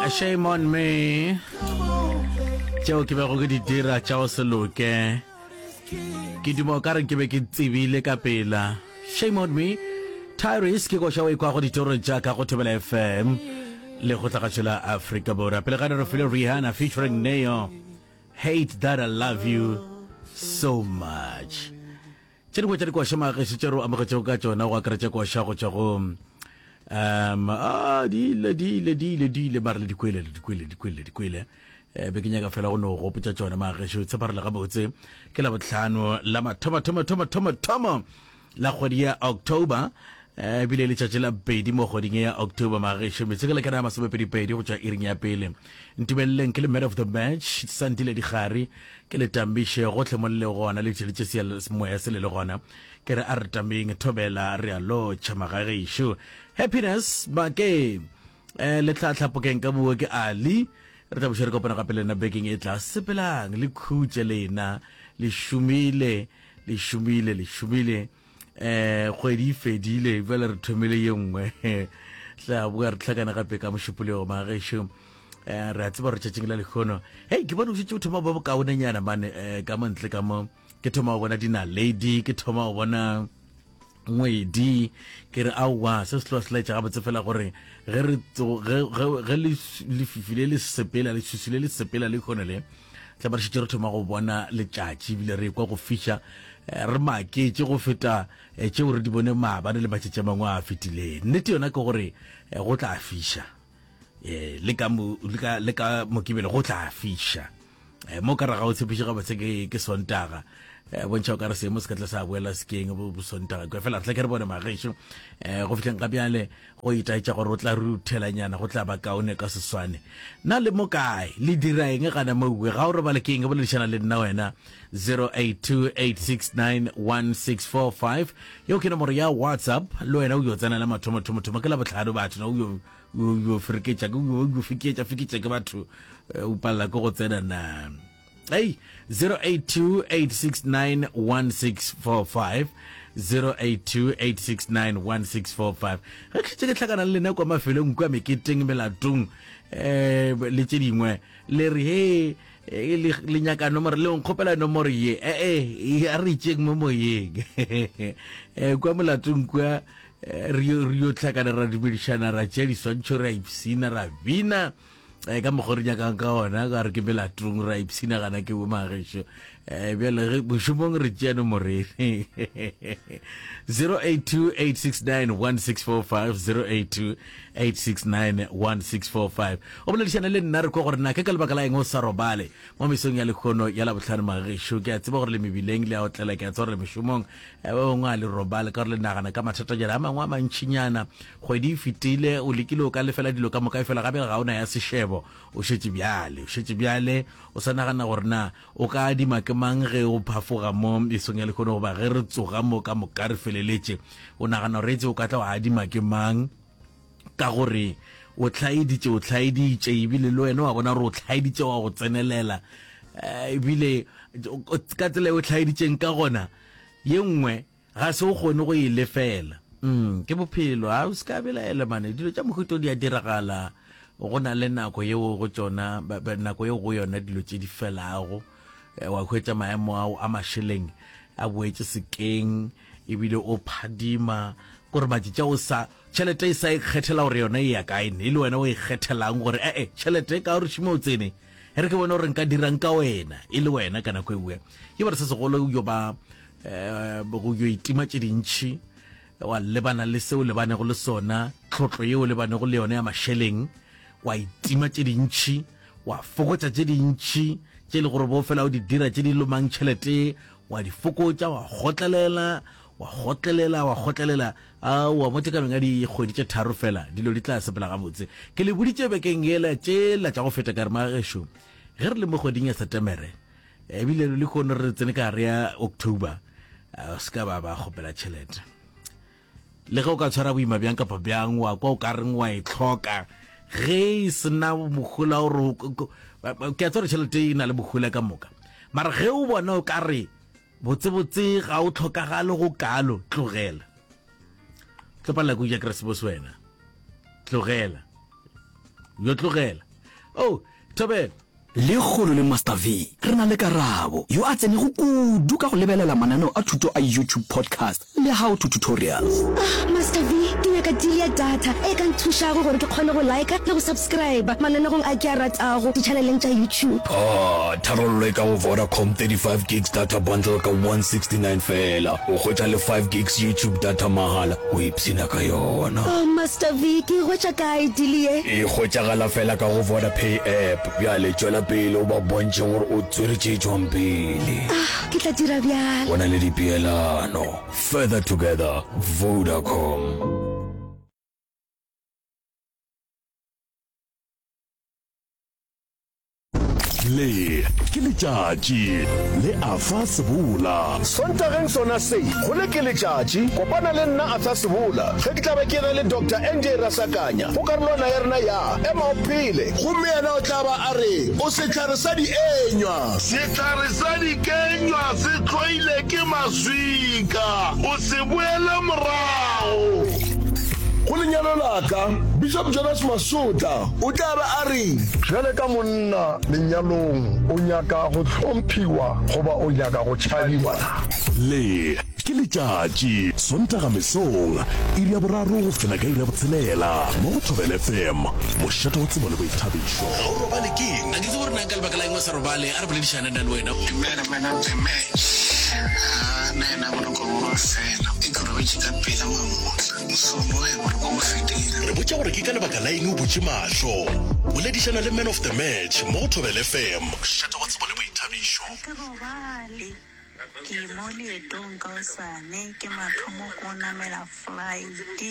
Shame on me. Tšeo ke bego ke di dira tša go se loke. Ke duma o ka re ke be ke tsebile ka pela. Shame on me. Tyrese ke koša o e kwago ditorong tša ka go Thobela FM le go tlagatšo la Afrika Borwa. Pele ga re file Rihanna featuring Neo. Hate that I love you so much. Tše dingwe tša dikoša magešo tše re amogetšego ka tšona go akaretša koša go tšwa go um a di ile di ile di ile di ile mare le dikwele le dikwele dikwele dikwele eh, be ke nyaka fela go no gopotša tšona magešo tsheparele gabotse ke la botlhano la mathomo thomo thomo thomo thomo la kgwedi ya October eh, ebile letšatši la pedi mo kgweding ya October magešo metseke le kana ya masomepedipedi go tšwa iring ya pele ntumeleleng ke le man of the match santile digare ke le tambiše gohle mo le le gona le tšeletše semoya se le le gona ke re a re tameng thobela re a lotšha magagešo happiness make eh, le tlhatlhapokeng ka buo ke ali re tla buša re kopana gape le nna bekeng e tla sepelang le khutše lena le šomile le šomile le šomile um kgwedi e fedile bjale re thomile ye nngwe tla boa re tlhakana gape ka mošupologo magešo um re a tseba gore tšatšing la lekgono hei ke bone o šetše o thoma ba bokaonenyana mane um ka mo ntle ka mo ke thoma go bona dinaledi ke thoma go bona ngwedi ke re aowa se se tloa se laetša gabotse fela gore ge re ge lefifi le le sepela leswiswi le le sepela le kgone le tla ba re šetše re thoma go bona letšatši ebile re kwa go fiša eh, re maketše go feta eh, tšeo re di bone maabane le matšatši a mangwe a fetileng nnete yona ke gore eh, go tla fiša le ka le ka mokibelo go tla fiša mo ka raga o tshepiše gabotse ke ke sontaga bontšha o ka re seemo se ka tla sa boela sekeng bo sontaga kwa fela re tla ke re bone magešo go fihleng ga bjale Go itaetša gore o tla ruthelanyana go tla ba kaone ka seswane. Na le mo kae? Le dira eng gana mowe? Ga o robale ke eng? Boledišana le nna wena. 0828691645 yeo ke nomoro ya WhatsApp. Le wena o yo tsena la mathomo thomo thomo ke la bohlano batho na o yo o yo fereketša ke o yo fiketša fiketša ke batho eh, o palela ke go tsena na. Hey, 0828691645 0828691645 ge ke šetše ke hlakana le lena kwa mafelong kua meketeng melatong um le tše dingwe le re he eh, le nyaka nomoro le nkgopela nomoro ye ee eh, a re itšeng mo moyeng um kwa molatong kua re yo hlakana ra dumedišana ra tšea diswantšho ra ipsina ra bina um ka mokgwa re nyakang ka ona ka re ke melatong ra ipshina gana ke bomagešo um eh, bjale ge mošomong re tšea nomorene 0828691645 0828691645 o boledišane le nna re kwa gore na ke ka lebaka la eng o sa robale mo mesong ya lekgono ya labohlano magešo ke a tseba gore le mebileng le a otlela ke a tseba gore le mešomong eh, ba bangwe a le robale ka gore le nagana ka mathatanyana a mangwe a mantšhinyana Kgwedi e fetile, o lekile o ka lefela dilo ka moka, efela gape ga o na ya sešebo. O šetše bjale, o šetše bjale, o sa nagana gore na o ka adima ke mang ge o phafoga mo mesong ya lehono goba ge re tsoga mo ka moka re feleletše. O nagana gore etse o ka tla wa adima ke mang ka gore o hlaeditše, o hlaeditše ebile le wena wa bona gore o hlaeditše wa go tsenelela eh, ebile ka tsela e o hlaeditšeng ka gona ye nngwe Ga se o kgone go e lefela. Mm, ke bophelo. A o se ka belaela mane. Dilo tša mohuta o di a diragala. Go na le nako yeo go tšona, nako yeo go yona dilo tše di felago. Eh, wa hwetša maemo ao a mašeleng a boetše sekeng ebile o phadima gore matšatši a o sa tšhelete e sa e kgethela gore yona e ya kae ne e le wena o e kgethelang gore ee tšhelete ka gore šimo o tsene e re ke bone gore nka dirang ka wena e le wena ka nako e nngwe ke gore se segolo yo ba um go yo itima tše dintšhi wa lebana le seo lebanego le sona tlhotlo yeo lebanego le yona ya mašeleng wa itima tše dintšhi wa fokotša tše dintšhi tše le gore bo fela o di dira tše di lomang tšhelete wa di fokotša wa kgotlelela wa kgotlelela wa kgotlelela aowa mo tekanong ya dikgwedi tše tharo fela dilo di tla sepela gabotse ke le boditše bekeng yela tšela tša go feta ka re magešo ge re le mo kgweding ya setemere Ebile le lehono re tsene ka gare ya October, o se ka ba ba kgopela tšhelete. Le ge o ka tshwara boima bjang kapa bjang, wa kwa o ka reng wa e tlhoka, ge e sena mohola gore ke a tseba gore tšhelete e na le mohola ka moka, mara ge o bona o ka re botsebotse ga o tlhokagale go kalo, tlogela. Tlo palela ke go ja Keresemose wena, tlogela. Yo tlogela. Oh, Thobela. Lekgolo le Master V re na le Karabo, yo a tsenego kudu ka go lebelela mananeo a thuto a YouTube podcast le how to tutorials. Ah, Master V, ke nyaka deal ya data e ka nthušago gore ke kgone go liker le go subscriber mananegong a ke a ratago di-channeleng tša YouTube. Ah, tharollo e ka go Vodacom 35 gigs data bundle ka 169 feela. O hwetša le 5 gigs YouTube data mahala. O ipshina ka yona. Oh, Master V, ke e hwetša kae deal ye? E hwetšagala fela ka go Vodapay app. Bjale tšwela pele o ba bontšhe gore o tswere tše tšwang pele. Ah, ke tla dira bjalo. Go na le dipeelano. Further together, Vodacom. Le ke letšatši le Arthur Sebola. Sontageng sona se, go le ke letšatši, kopana le nna Arthur Sebola ge ke tla be ke ena le Doctor NJ Rasakanya go karolwana ya rena ya Ema o Phele. Gomme yena o tla ba a re, O sehlare sa dienywa. Sehlare sa dikenywa se hloile ke maswika, o se boele morago. Go lenyalo la ka, Bishop Jonas Masotla o tla ba a re. Bjale ka monna lenyalong, o nyaka go hlomphiwa goba o nyaka go tšhabiwa? Le ke letšatši, Sontaga mesong, iri ya boraro go fihla ka iri ya botshelela, mo go Thobela FM, mošate wa tsebo le boithabišo. Ga o robale keng? A ke tsebe gore na ka lebaka la eng o sa robale. A re boledišane nna le wena. Dumela man of the match. Haa nna yena boroko bo ba fela. Ke robetše ka pela mamohla. Mosomo ge boroko bo fetile. Re botša gore ke ka lebaka la eng o butše mahlo. Boledišana le man of the match mo go Thobela FM, mošate wa tsebo le boithabišo. Ga ke robale, ke mo leetong kaosane, ke mathomo ko namela flight ke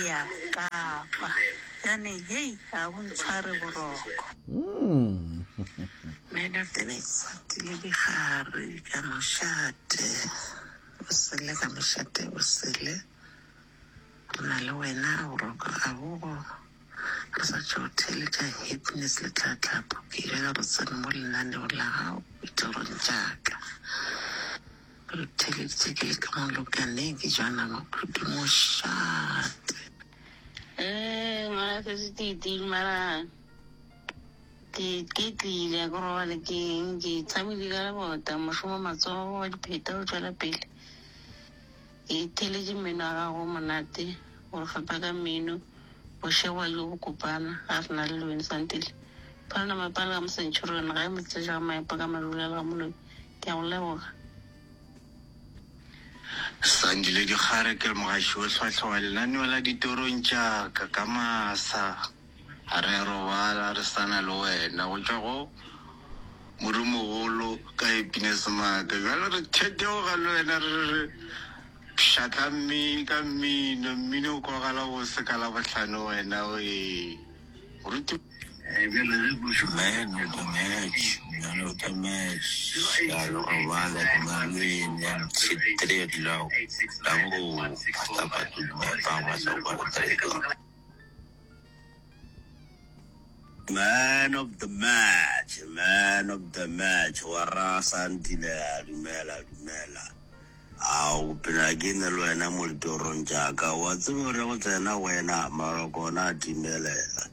ya Kapa. Bjane hei ga bo ntshware boroko. Man of the match. Tile digare ka mošate. Bosele ka mošate bosele. Re na le wena boroko ga bogo. Re sa tšo theeletša Happiness le Tlatlapo. Ke ile ka re tsene mo lenaneong la gago ditorong tša ka. Re theeleditše ke le ka mo lokaneng ke jwa nama khudu mošate. Ee, ngwana sesi titi mara ke ke tlile ke robale ke eng ke tshamile ka lebota mošomo matsogo wa dipheta o tšwela pele ke theletše mmino wa gago o monate o re fepa ka mmino bošego jo bo kopana ga re na le lewene santile phalana mapala ka mosentšhurone ga e motseja ga maepa ka madulela ga moloi ke a go leboga. Sandile Dikgare ke mogaši o hlwahlwa wa lenaneo la ditorong tša ka ka masa. Ga re a robala re sa na le wena go tšwa go Modimogolo ka Happiness Maake. Bjale re theteoga le wena re re re pšhatla ka mmino, mmino o kwagala bose ka Labohlano wena wee. Moruti. Man of the match, man of the match. Ya lo robala ke malwene three o'clock. Dango Pastor Patume pa masoko 3 o'clock. Man of the match, man of the match. Wa ra Sandile, dumela, dumela. Ao, phela ke ne le wena mo ditorong tša ka. Wa tseba gore go tsena wena, maroko ona a timelela.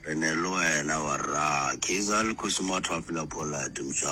Re ne le wena, wa ra. Kaizer le Kgosi Mathwafela Pollard, mša.